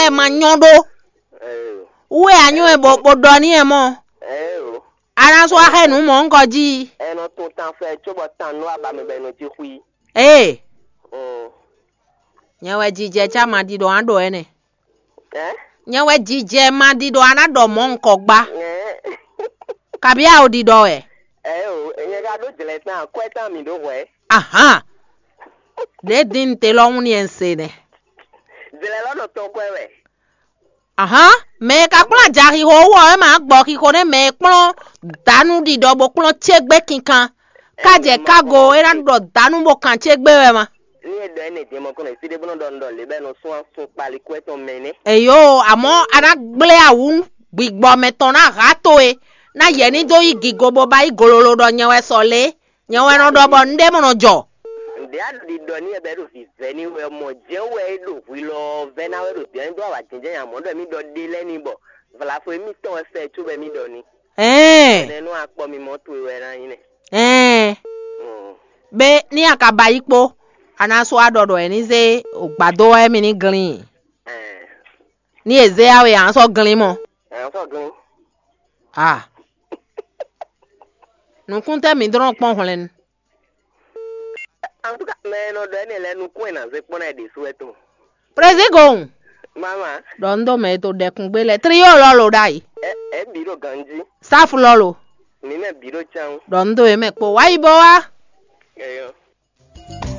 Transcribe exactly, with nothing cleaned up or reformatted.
ɛ ma nyɔ́ ɖó. Wú wɛ a nyɔ́ ɛ bó bó ɖɔ n'i ɛ mɔ. A ná sú axɛ nǔ mɔ̌ ŋkɔ jí. Ɛ nɔ tún tan fɛ cóbɔ tan nú aba mi bɛ nɔ jí xwí. Ee, nyɛ wɛ jijɛ cá ma ɖi ɖɔ á ɖɔ ɛnɛ. Nyɛ wɛ jijɛ ma ɖi ɖɔ á ná ɖɔ mɔ̌ ŋkɔ gbá. Kabí a o ɖi ɖɔ wɛ? Ɛ o, nyɛ ka ɖó jlɛ tán, akwɛ tán mi ɖó hwɛ. Ahán. Ɖě din te lɔ hún ni ɛ ń se nɛ. Jlɛ lɔ nɔ tɔn kwɛ wɛ. Ahán, mɛ e ka kplɔ́n ajaxixo wú ɔ́, é ma gbɔ xixo nɛ́ mɛ e kplɔ́n dǎnú ɖiɖɔ bó kplɔ́n cégbé kinkan. Ká jɛ kágo é ná ɖɔ dǎnú bó kan cégbé wɛ ma. Ní e ɖɔ énɛ́ din mɔ kɔn esi ɖé bó nɔ ɖɔ un ɖɔ lě bɔ é nɔ sún asún kpali kú etɔn mɛ nɛ́. Eyo, àmọ́ a ná gblé awǔ gbigbɔ mɛtɔn ná há towe, ná yɛ ní dó yí gigo bó ba yí gololo ɖɔ nyɛ wɛ sɔ lě, nyɛ wɛ nɔ ɖɔ bɔ un ɖé mɔ nɔ jɔ. Ǹdɛ a ɖi ɖɔ ní e bɛ ɖo vǐvɛ́ ní wɛ mɔ jɛ́n wɛ é ɖo hwi lɔ vɛ́ ná wɛ ɖo dɛ̌ dó awǎ jɛ́njɛ́n nya mɔ̌ ɖɔ mì ɖɔ ɖe lɛ́ɛ ní bɔ vlafo émítɔn wɛ fɛ cóbɔ mì ɖɔ ní. Ɛɛ. Nɛnú akpɔ mi mɔ towe wɛ ná nyí nɛ. Ɛɛ. Be ní a ka ba yí kpó, a ná sú aɖɔ ɖɔ ɛ ní zé gbadó wɛ mi ní glín. Ní e zé awe a sɔ́ glín mɔ. Ɛ sɔ glín. A. Nukún tɛ mi dlɔn kpɔn hwlɛn. Antúkà mɛ e nɔ ɖɔ ɛnɛ lɛ nukún ɛ nà zé kpɔ́n ná ɛ ɖésú wɛ tɔn. Président Gohun. Mama. Ɖɔ un ɖo mɛ e to ɖɛkun gbé lɛ. Trio lɔ lo ɖ'ayǐ. Ɛ ɛ bǐ ɖo ganjí. Sáfu lɔ lo. Mǐ mɛ bǐ ɖo cán. Ɖɔ un ɖo yě mɛ kpo. Wá yi bɔ wá. Ɛyɔ.